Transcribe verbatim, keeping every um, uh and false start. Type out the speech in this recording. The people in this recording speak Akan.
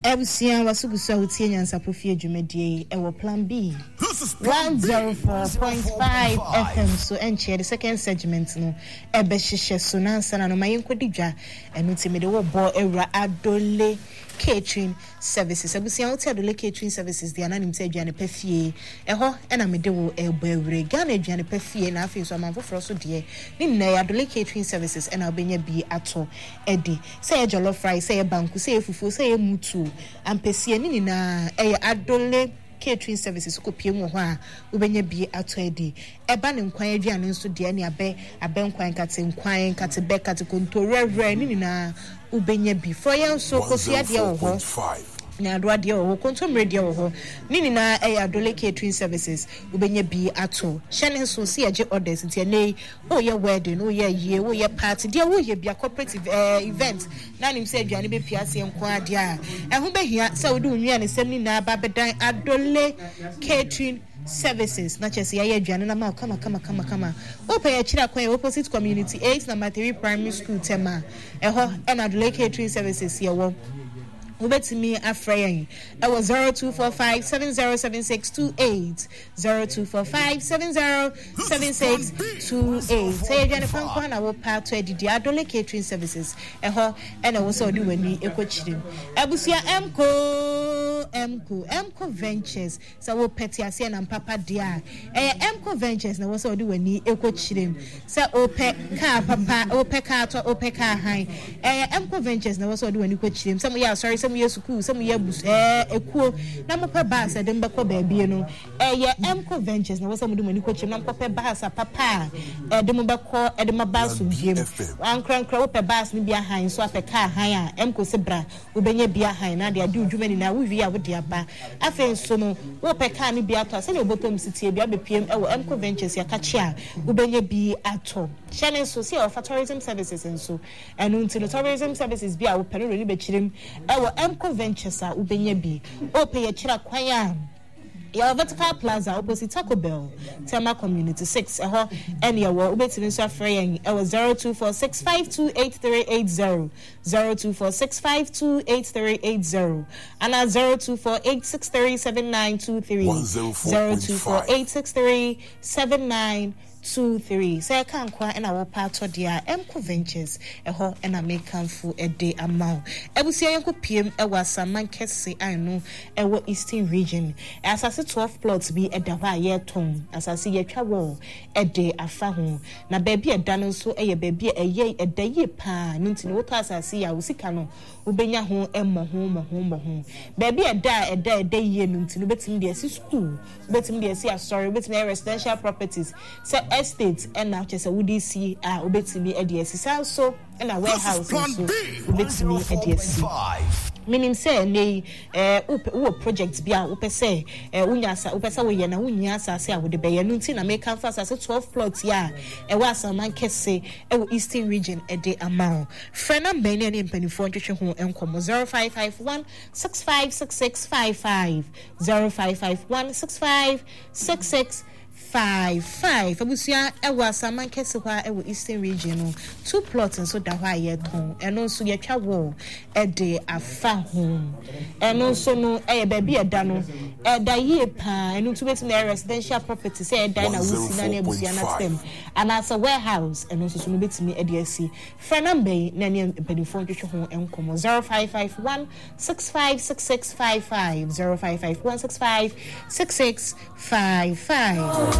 Abusua, waso gu so a wotie Nyansapo Fie dwumadie yi ɛwɔ Plan B one zero four point five F M so. Ɛnkyɛ the second segment no ɛbɛhyehyɛ so na ansa na no ma yɛnkɔdi dwa. Ɛno nti mede wo bɔ awura Adole Catering Services. Abusua, wote Adole Catering Services deɛ, ananim sɛ aduane pɛ fie ɛhɔ ɛna mede wo ɛbɔ awura Ghana aduane pɛ fie. Na afei nso aman foforɔ so deɛ ne nyinaa yɛ Adole Catering Services ɛna wobɛnya bi atɔ ɛdi, sɛ ɛyɛ jollof rice, sɛ ɛyɛ banku, sɛ ɛyɛ fufuo, sɛ ɛyɛ mutuo, ampesie, ne nyinaa ɛyɛ Adole Catering Services. Kɔpie mu wɔ hɔ a, wobɛnya bi atɔ adi. Ɛba ne nkwan aduane nso deɛ, ne abɛ abɛ nkwan, nkate nkwan, nkate bɛ, nkate konto, rɛrɛ, ne nyinaa wobɛnya bi. Frɔyɛ nso, kosua deɛ wɔ hɔ, nyaadoa deɛ wɔ hɔ, kontommire deɛ wɔ hɔ, ne nyinaa ɛyɛ Adole Catering Services, wobɛnya bi ato. Hyɛ ne nso si yɛgye orders, nti ɛnɛ yi woyɛ wedding, woyɛ yie, woyɛ party deɛ, woyɛ bia corporate eh, event na nim sɛ aduane bɛpia aseɛ nko adeɛ a, ɛho bɛhia sɛ wode wo nnuane sɛm no nyinaa ba bɛdan Adole Catering Services na kyerɛ sɛ yɛayɛ aduane no ama wo kama kama kama kama. Wopɛ yɛkyerɛ akwan yɛ opposite Community eight Number three Primary School, Tema. Ɛhɔ ɛna Adole Catering Services yɛwɔ. Wobɛtumi afrɛ yɛn ɛwɔ zero two four five seven zero seven six two eight, zero two four five seven zero seven six two eight. Sɛ yɛ aduane pankwa na wopɛ atɔ adidi, Adole Catering Services, ɛhɔ ɛna ɛwɔ sɛ ɔde w'ani ɛkɔ kyerɛ mu. Abusua, mco mco Mco Ventures, sɛ wopɛ te aseɛ nam papa deɛ a, ɛyɛ Mco Ventures na ɛwɔ sɛ ɔde w'ani ɛkɔ kyerɛ mu. Sɛ wopɛ kaa papa, wopɛ kaa tɔ, wopɛ kaa han, ɛyɛ Mco Ventures na ɛwɔ sɛ ɔde w'ani kɔ kyerɛ mu. Sɛ moyɛ asɔre, sɛ moyɛ sukuu, sɛ moyɛ abus ɛɛ ekuo na mopɛ bus ɛde mbɛkɔ baabi no, ɛyɛ Mco Ventures na ɛwɔ sɛ mode mo ani kɔ kyerɛ mu na mokɔpɛ bus a papa a ɛde mo bɛkɔ, ɛde mo aba asomdwie mu. Ankorankora wopɛ bus no bi ahan nso, apɛ kaa han a, Mco se bra, wobɛnya bi ahan na de ade odwuma nyinaa, wowie a wode aba. Afei nso no, wopɛ kaa no bi atɔ a, sɛnea wobɔtɔm si tie bi abɛpiem ɛwɔ Mco Ventures, yɛakakye a wobɛnya bi atɔ. Hyɛ ne nso sɛ yɛwɔfa tourism services nso. Ɛno nti no, tourism services bi a wopɛ no wɔ ne bɛkyerɛ mu ɛwɔ Mco Ventures a wobɛnya bi. Wopɛ yɛkyerɛ kwan a, yɛwɔ Vertical Plaza opposite Taco Bell, Tema Community six, ɛhɔ ɛne yɛwɔ. Wobɛtumi nso afrɛ yɛn ɛwɔ zero two four six five two eight three eight zero, zero two four six five two eight three eight zero, ana zero two four eight six three seven nine two three, zero two four eight six three seven nine two three. Sɛ ɛka nkoa ɛna wɔpa atɔ deɛ a, Mco Ventures, ɛhɔ ɛna mekamfo ɛde ama wo. Abusua, yɛnkɔ piem ɛwɔ Asaman Kɛse a ɛno ɛwɔ Eastern Region. Asase twelve plots bi ɛda hɔ a yɛretɔn. Asase yɛtwa wall ɛde afa ho, na baabi a ɛda no nso ɛyɛ baabi a ɛyɛ ɛda yie paa no, nti no wotɔ asase yi a, wo sika no wobɛnya ho mmɔho mmɔho mmɔho. Baabi a ɛda a ɛda ɛda yie no nti no, wobɛtumi de asi school, wobɛtumi de asi asɔre, wobɛtumi ayɛ residential properties, sɛ estate ɛna kyerɛ sɛ wode si a, wobɛtumi de asi. Saa nso ɛna warehouse nso wobɛtumi de asi. Menim sɛ ɛnɛ yi ɛɛ wowɔ project bi a wopɛ sɛ ɛɛ wonya asa, wopɛ sɛ woyɛ na wonya asase a wode bɛyɛ no, nti na meka fa asase twelve plot yi a ɛwɔ Asaman Kɛse ɛwɔ Eastern Region ɛde ama wo. Frɛ number yi ne ɛne mpanimfoɔ ntwetwe ho nkɔmmɔ: zero five five one six five six six five five, zero five five one six five six six five five. Abusua, ɛwɔ Asaman Kɛse hɔ a ɛwɔ Eastern Region no, two plot nso da hɔ a yɛtɔn. Ɛno nso yɛtwa wall ɛde afa ho. Ɛno nso no ɛyɛ baabi ɛda no ɛda yie paa. Ɛno nso bɛtumi ɛyɛ residential property, sɛ ɛdan na wosi na ne abusua na tɛm, anaasɛ warehouse, ɛno nso so no bɛtumi ɛde asi. Frɛ number yi na ne mpanimfoɔ ntwetwe ho nkɔmmɔ: zero five five one six five six six five five, zero five five one six five six six five five.